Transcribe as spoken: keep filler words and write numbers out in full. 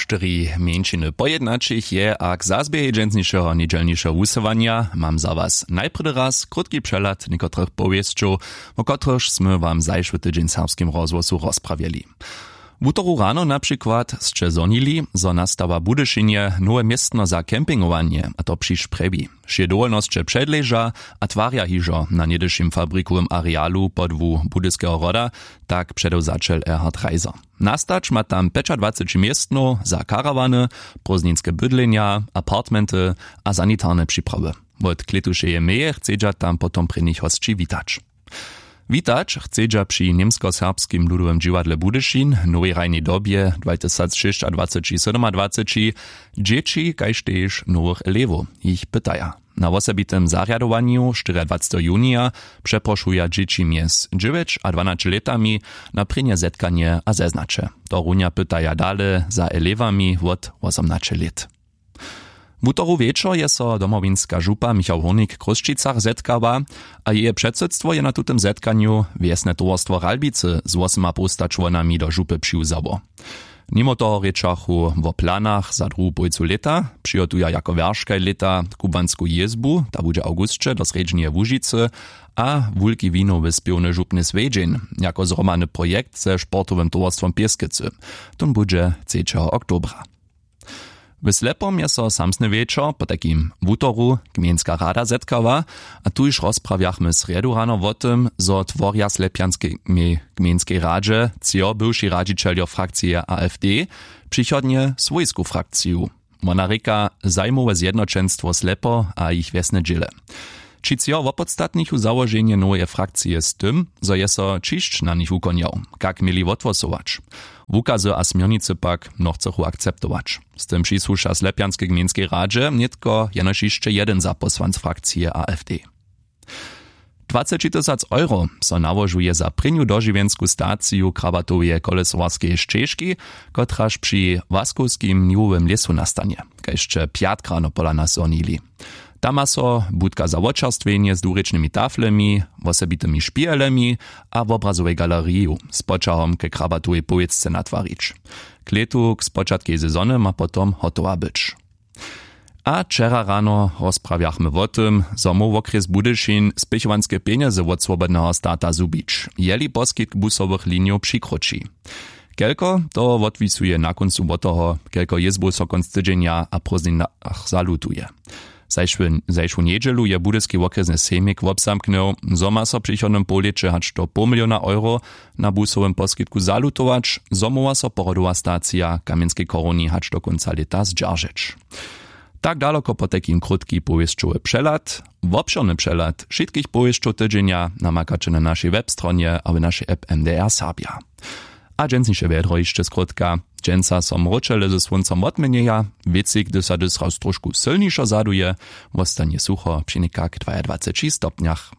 Štyri mjeńšiny pojednaćich je a k zazběhej dźensnišeho njedźelnišeho wusyłanja mam za was najprjedy raz krótki přehlad někotrych powěsćow, wo kotrychž smy wam zašły tydźeń w serbskim rozhłosu rozprawjeli. Wutoru rano na přikład sće zhonili, zo nastawa w Budyšinje nowe městno za campingowanje, a to přišć prjewi. Wšě dowolnosće předleža a twarja hižo na něhdyšim fabrikowym arealu podłu Budyskeho hroda, tak předewzaćel Erhard Reiser. Nastać ma tam pjećadwaceći městnow za karawany, prózdninske bydlenja, apartmenty a sanitarne připrawy. Wot klětušeje meje chcedźa tam potom prěnich hosći witać. Witać chcedźa při němskoserbskim ludowym dźiwadle Budyšin w nowej hrajnej dobje dwatysacšěsćadwaceći sydomadwaceći dźěći kaž tež nowych elewow. Jich pytaja na wosebitym zarjadowanju štyriadwaceteho junija přeprošuja dźěći mjez dźewjeć a dwanaće lětami na prěnje zetkanje a zeznaće. To runja pytaja dale za elewami wot wosomnaće lět. Wutoru wječor je so domowinska župa Michał Hórnik w Chrósćicach zetkała, a jeje předsydstwo je na tutym zetkanju wjesne towarstwo Ralbicy z wosymapołsta čłonami do župy přiwzało. Nimo toho rěčachu wo planach za druhu połojcu lěta, přihotuja jako wjerškaj lěta kubłansku jězbu, ta budźe w awgusće do srjedźneje łužicy, a wulki winowy spěwny župny swjedźeń jako zhromadny projekt ze sportowym towarstwom pěskecy. Tón budźe třećeho oktobra. W slepom je so samsny wječor potajkim wutoru gmejnska rada zetkała, a tuž rozprawjachmy srjedu rano wo tym, zo tworja slepjanskej gmejnskej radźe třo bywši radźićeljo frakcije afd přichodnje swójsku frakciju. Wona rěka zajmowe zjednoćenstwo slepo a jich wjesne dźěle. Ći třo wopodstatnichu załoženje noweje frakcije z tym, zo je so ćišć na nich wukonjał, kak měli wothłosować. Wukazy a směrnicy pak nochcechu akceptować. Z tym přisłuša slepjanskej gmejnskej radźe nětko jenož hišće jedyn zapósłanc frakcije afd. Dwaceći tysac euro so nałožuje za prěnju dožiwjensku staciju krabatoweje kolesowarskeje šćežki, kotraž při łaskowskim niwowym lěsu nastanje, kaž sće pjatk rano pola nas zhonili. Tam ma so budka za wočerstwjenje z dwurěčnymi taflemi, wosebitymi špihelemi a wobrazowej galeriju z poćahom ke krabatowej powěsce natwarić. Klětu k spočatkej sezony ma potom hotowa być. A wčera rano rozprawjachmy wo tym, zo móhł wokrjes Budyšin spěchowanske pjenjezy wot swobodneho stata zhubić, jeli poskitk busowych linijow přikroći. Kelko, to wotwisuje na kóncu wot toho, kelko jězbow so kónc tydźenja a prózdninach zalutuje. Zašłu njedźelu je budyski wokrjesny sejmik wobzamknył, zo ma so w přichodnym połlěće hač do poł miliona euro na busowym poskitku zalutować, zo móhła so pohodowa stacija w kamjenskej choruni hač do kónca lěta zdźeržeć. Tak daloko potajkim krótki powěsćowy přehlad. Wobšěrny přehlad wšitkich powěsćow tydźenja namakaće na našej webstronje a w našej app mdr serbja. A dźensniše wjedro hišće skrótka. Dźensa so mróčele ze słóncom wotměnjeja, wětřik hdyž so hdyž raz trošku sylnišo zaduje, wostanje sucho při někak dwajadwaceći stopnjach.